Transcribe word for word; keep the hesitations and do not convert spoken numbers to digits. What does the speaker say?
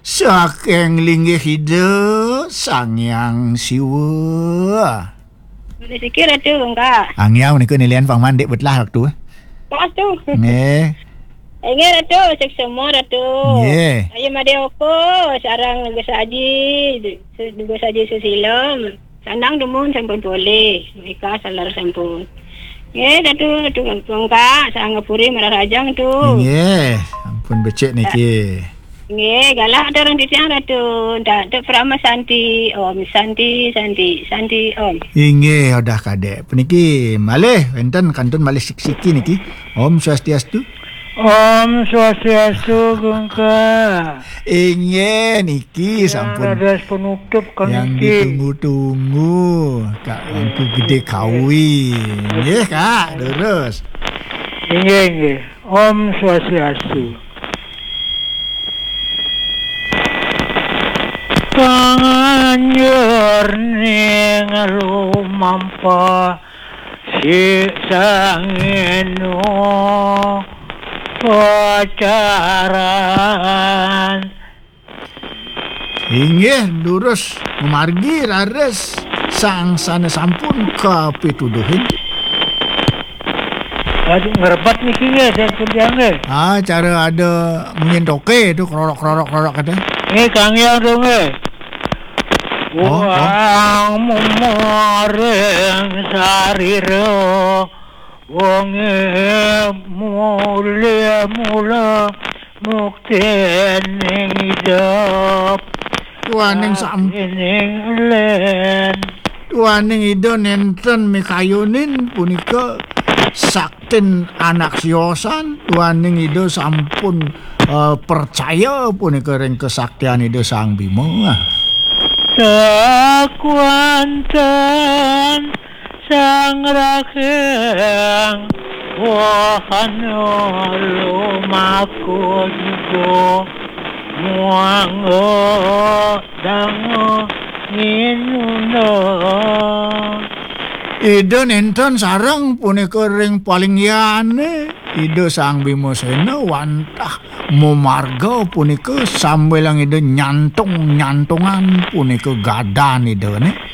Saking linggih Ida Sang Hyang Siwa. Niki Ratu, Kak. Angiau nika nilian pang mandik betlah waktu. Pas tu. Nggih. Inggih Ratu, suksma Ratu. Nggih. Ayu Made Oko, sareng Gus Aji, Gus Aji Susilo. Sandang dumun sampun polih, Mika salar sampun. Nggih, Ratu, Ratu Kak, Sang Ngapuri Mararajang tu. Nggih, ampun becik niki. Nggih, galah atur titiang Ratu. Ndak tu Parama Santi, Om Santi, Santi, Santi, Om. Inggih, udah kadek. Puniki malih wenten kantun malih sik-siki niki. Om Swastiastu. Om Swastiastu, Gungka. Inggih, niki sampun. Dados penutup yang kami ditunggu-tunggu. Kak Angku Gede Kawi. Nggih, Kak, terus. Inggih, inggih. Om Swastiastu. Panganjur ning lumampa si sangeno pacaran. Inggih, durus mamargi raris sang sane sampun kapituduhin. Aduh, ngerebet niki nggih, dan pundi nggih. Ah, cara ada munyin toke tu, krorok, krorok, krorok kata. Nggih, Kang Hyang tu nggih. Oh, oh. Wang memaring sarira, wonge mule mula muktening idep. Tuaning sam- Ning len. Tuaning Ida nenten mikayonin punika saktin anak siosan. Tuaning Ida sampun, eh, percaya punika ring kesaktian Ida Sang Bima. Sakuanten Sang Raking wahana lumaku juga muangga danga nginuna. Ida nenten sareng punika ring palinggihane Ida Sang Bimasena wantah mamarga punika sambilang Ida nyantung-nyantungan punika gadan Idane.